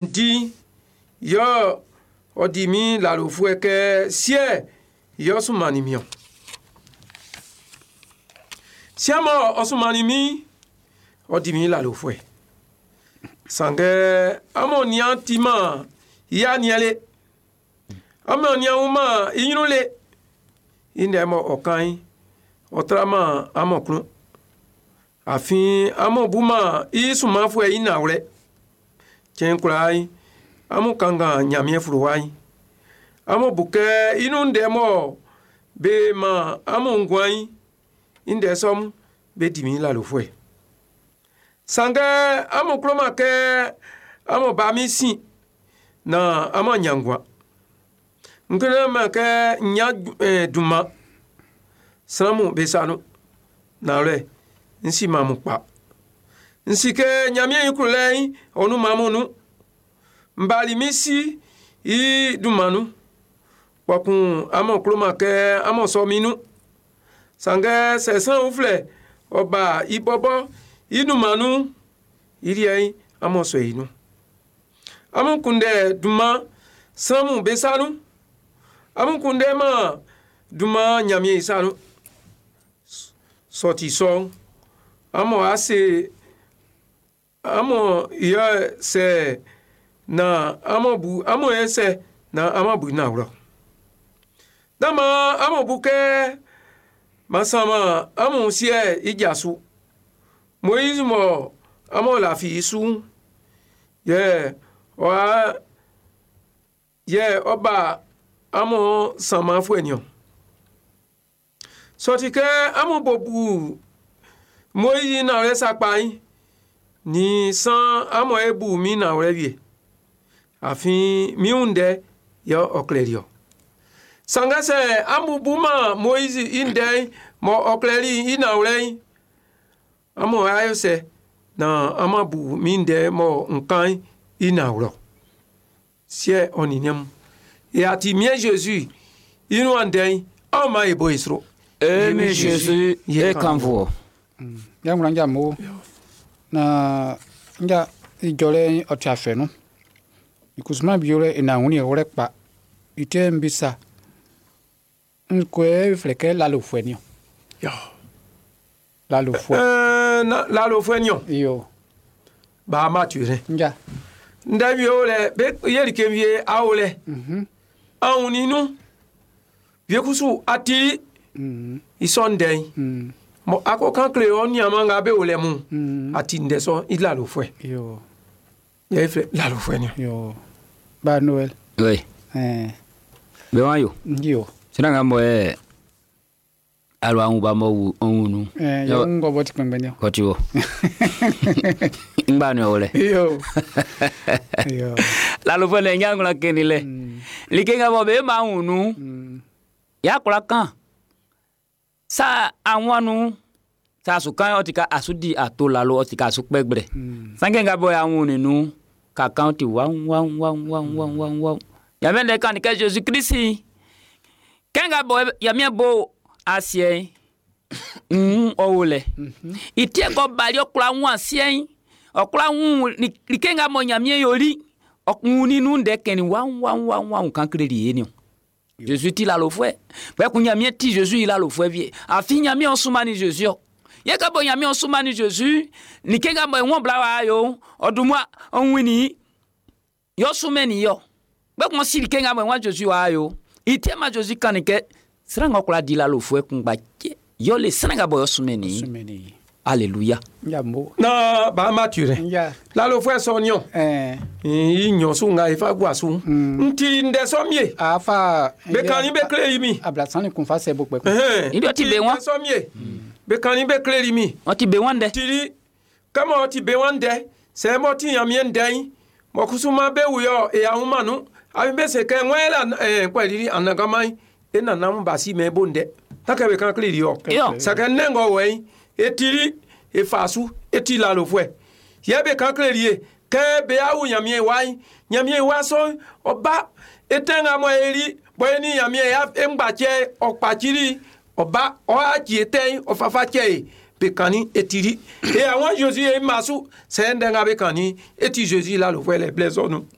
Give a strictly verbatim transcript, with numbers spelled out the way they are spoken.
Di yɛ ɔ di min lalofuɛ kɛ Siɛ'n yɛ ɔ sunmannin min-ɔn. Siɛ mɔ ɔ sunmannin min, ɔ di min lalofuɛ. Sanngɛ amun nian timan i aniɛn le. Amun nian wunman i ɲrun le. I ndɛ mɔ ɔ kan'n, ɔ traman amun klun. Afin amun buman i sunmanfuɛ'n i nanwlɛ. Cɛn kwlaa, amun kanngan Ɲanmiɛn fluwa'n. Amun bu kɛ i nun ndɛ mɔ be man amun nguan'n, i ndɛ sɔ'm be di min lalofuɛ. Sanngɛ amun kloman kɛ amun ba min sin naan amun ɲan nguan. N kunndɛman kɛ n ɲan dunman sran'm be sa nun. Nanwlɛ, n siman amun kpa. N si kɛ Ɲanmiɛn i klolɛ'n ɔ nunman amun nun. N bali min Si i dunman nun. Kpɛkun amun kloman kɛ amun sɔ min nun. Sanngɛ sɛ sran uflɛ ɔ ba i bɔbɔ i dunman nun, i liɛ'n amun sɔ i nun. Amun kunndɛ dunman sran'm be sa nun. Amun kunndɛman dunman Ɲanmiɛn i sa nun. Sɛ ɔ ti sɔ'n, amun ase amun yɛ sɛ na amun bu amun yɛ sɛ na amun bu nanwlɛ. Nán maan amun bu kɛ m'an sanman amun Siɛ'n i ja su. Moizi mɔ amun lafi i su'n, yɛ ɔ yɛ ɔ ba amun sanmanfuɛ niɔn. Sɛ ɔ ti kɛ amun bo bu Moizi nanwlɛ sakpa'n, ni san amun e bu min nanwlɛ wie. Afin min wun ndɛ yɛ ɔ klɛli ɔ. Sanngɛ sɛ amun buman Moizi i ndɛ'n mɔ ɔ klɛli i nanwlɛ'n, amun ayɛ sɛ na amun bu min ndɛ mɔ n kan'n i nanwlɛ. Siɛ ɔ nin niɛn mun. E ati Miɛn Jésus i nuan ndɛ'n, aw ma e bo e sro. Emi Jésus ye kanfo. Ya ŋlɔ ŋdza mo na ŋdza idzɔlɛ ɔti afɛ nu ikusuma bi lɛ ina ŋuni wlɛ kpa ite nbisa nkoe flɛ kɛ lalofuɛ ni o Yo. lalofuɛ Ɛɛ na lalofuɛ niɔn. iyo Ba ma tu rɛ. ŋdza Ndɛ wie o lɛ, be ye like wie awo lɛ. mhm Anw ninu. Wie kusu ati mhm i sɔ ndɛ'n. mhm Mɔ ako kan kle ɔ nianman nga be o lɛ mun. mhm Ati ndɛ sɔ i lalofuɛ. iyo Yɛ iflɛ lalofuɛ niɔn. iyo ba Noël Oui. ɛɛ Be wan yo. iyo Sina nga mo e alo anwu ba mo wu onwu ɛɛ yɛ ŋgɔ bɔ ti kpɛngbɛn ni o Koti wo. Ngba ni o le. iyo iyo Lalofuɛ le nya ngla keni le. mm Like nga mo be ma wunu. mm Ya kula kan. Sa anwanu sa su kan o ti ka asu di ato lalo o ti ka asu kpɛgbrɛ. mm Sanke nga bɔ ya wunu nu ka kan ti wa wa wa wa wa wa wa. Yamɛ le kan ni kɛ Jésus Christ. Kɛ nga bɔ yamɛ bo asiɛ ń ɔwɔ lɛ. mhm Itie kɔ bali ɔkula ŋu asiɛ ɔkula ŋu like nga mɔ Ɲanmiɛn yoli ɔŋu ninu ndɛ kɛni wa wa wa wa kan kele li ye ni o. Jésus ti lalofuɛ. Kpɛkun Ɲanmiɛn ti Jésus yi lalofuɛ vie. Afi Ɲanmiɛn ɔsumani Jésus ɔ. Ye ka bɔ Ɲanmiɛn ɔsumani Jésus like nga mɔ ŋɔ bla wa yo ɔdumua ɔŋuini yɔ sumɛni yɔ. Kpɛkun ɔsi like nga mɔ ŋɔ Jésus wa yo. Itie ma Jésus kan ni kɛ sran ŋɔ kula di lalofuɛ kungba tse yɔ le sran nga bɔ yɔ sumɛni. sumɛni Alléluia. ŋdza mo Na ba ma tu rɛ. ŋdza Lalofuɛ sɔ niɔn. ɛɛ I nyɔ su nga ifa gua su. Mm. N ti ndɛ sɔ mie. afa Be kan ni be kle yi mi. abla sani kun fa sɛ bo kpɛ kun Ɛhɛn. Ili ɔti be wɔn. Ndɛ sɔ mie. Be kan ni be kle yi mi. Ɔti be wɔn dɛ. Tiri kama ɔti be wɔn dɛ. Sɛ mɔ ti Ɲanmiɛn ndɛ'n. Mɔ kusuma be wuyɔ e ahun manu. Abi be se kɛ ŋwɛ la ɛɛ kpɛlili anagama e nana mu basi mɛ bo ndɛ. Takɛ be kan kle yi yɔ. Yɔ. Sɛkɛ nɛngɔ wɛyi etiri efasu eti lalofuɛ yɛ be kan kle ye kɛ be awu Ɲanmiɛn wa yi Ɲanmiɛn wa sɔ ɔba etɛnga mɔ eri bɔ eni Ɲanmiɛn ya eŋgbatsɛ ɔkpatsiri ɔba ɔatsi etɛn ɔfafa tsɛ ye Be kannin e tili. E àwọn Jésus e masu, sɛ ndɛ nga be kannin, e ti Jésus i lalofuɛ lɛ blɛ sɔ nun.